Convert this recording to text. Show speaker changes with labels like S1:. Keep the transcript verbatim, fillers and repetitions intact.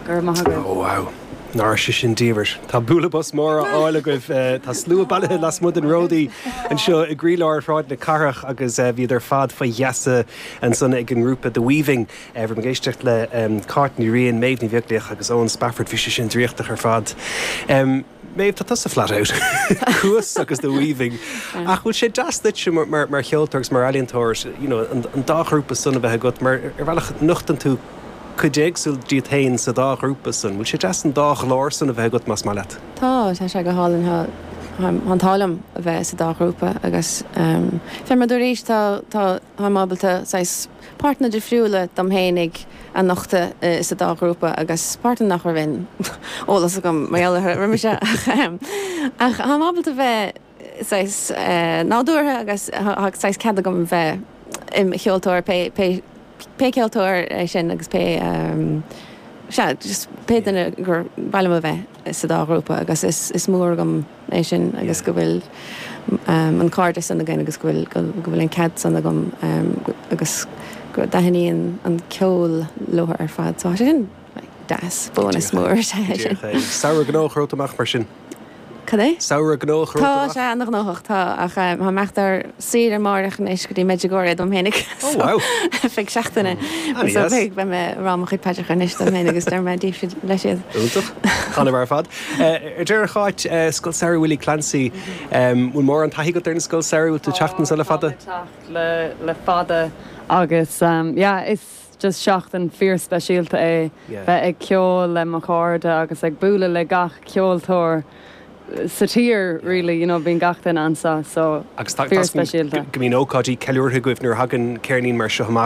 S1: Go raibh maith agat.
S2: Oh wow. Ná sé sin diamhair. Tá bualadh bos mór á fháil agaibh tá slua bailithe lasmuigh den Ródaí anseo i gcroílár Shráid na Cathrach agus bhíod ar fad faoi gheasa ansan ag an ngrúpa The Weaving. Bhí ag éisteacht le Cáit Ní Riain, Méabh Ní Bheaglaoich agus Eoin Spafford bhí sé sin draíochtach ar fad. Um, Méabh tá tusa flat out Cuas agus The Weaving. Ach bhfuil sé deas duit mar, mar, mar cheoltóir agus mar ealaíontóir you know, an, an dá ghrúpa san a bheith agat mar ar bhealach nochtann tú cuid éagsúil díot féin sa dá ghrúpa san, bhfuil sé deas an dá ghlór san a bheith agat más maith leat.
S3: Tá tá sé go hálainn an t-ádh liom a bheith sa dá ghrúpa agus um, fé mar arís tá tá ábalta páirteanna difriúla dom féinig a nochtadh uh, sa dá ghrúpa agus páirteanna nach raibh aon eolas agam mar roimhe se ach tá ábalta bheith saghas uh, nádúrtha agus saghas cead agam bheith im cheoltóir pé pé pé ceoltóir é sin agus pé um, sea, just pé duine gur mhaith liom a bheith sa dá ghrúpa agus is, is mór agam é sin agus go bhfuil um, an cairdeas san againn agus go bhfuil go bhfuil an cead san agam um, agus go dtaitníonn an ceol leo ar fad so sin deas bónas mór
S2: sin. Samhradh gnóthach romhat amach mar sin.
S3: Cad é?
S2: Samhradh gnóthach
S3: Tá sé an-ghnóthach tá ach tá mé ar saoire amárach anois go dtí Medjugorje dom féinig
S2: Oh wow.
S3: Feadh seachtaine beidh mé ag rá mo chuid paidreacha anois dom féin agus deir mé díobh leis siad.
S2: Iontach An ar fad. Ar deireadh Cáit Scoil Samhraidh Willie Clancy bhfuil mórán taithí agat ar an scoil samhraidh bhfuil tú teacht anseo le fada?
S1: le le fada agus um, yeah, is just seachtain fíorspeisialta é bheith ag ceol le mo chairde agus ag bualadh le gach ceoltóir sa tír really you know bíonn gach duine anseo so
S2: Agus
S1: fíorspeisialta.
S2: go mbíonn ócáidí ceiliúrtha agaibh nuair a thagann ceirnín mar seo amach